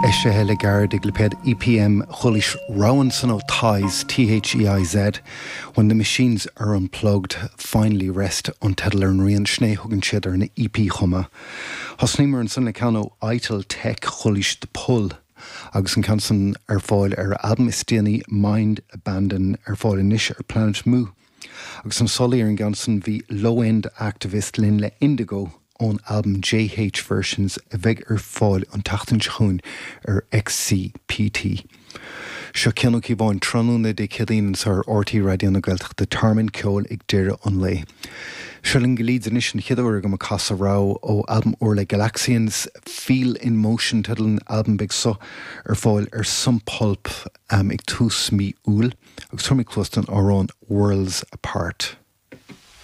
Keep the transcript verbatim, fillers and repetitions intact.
Eisithe le gairid ag lipéad EPM chualaís rogha ansan ó Theiz THEIZ When the machines are unplugged, finally rest an teideal ar an rian sin é thugann siad ar an EP chomh maith. Thosnaíomar ansan le ceann ó Ital Tech chualaís The Pull. agus an ceann san ar fáil ar albam is déanaí Mind Abandon ar fáil anois ar Planet Mu. Agus ansan ar an gceann san bhí Low End Activist linn le Indigo ón albam JH Versions a bheidh ar fáil an tseachtain seo chugainn ar XCPT. Seo Cian Ó Cíobháin tráthnóna Dé Céadaoin ar RTÉ Raidió na Gaeltachta Tearmann Ceoil ag deireadh an lae. Seo linn go Leeds anois an chéad uair agam ag casadh rogha ó albam úr le Galaxians Feel in Motion teideal an albam beidh seo ar fáil ar Sum Pulp um, ag tús mí Iúil agus tabharfaidh mé cluas don amhrán Worlds Apart.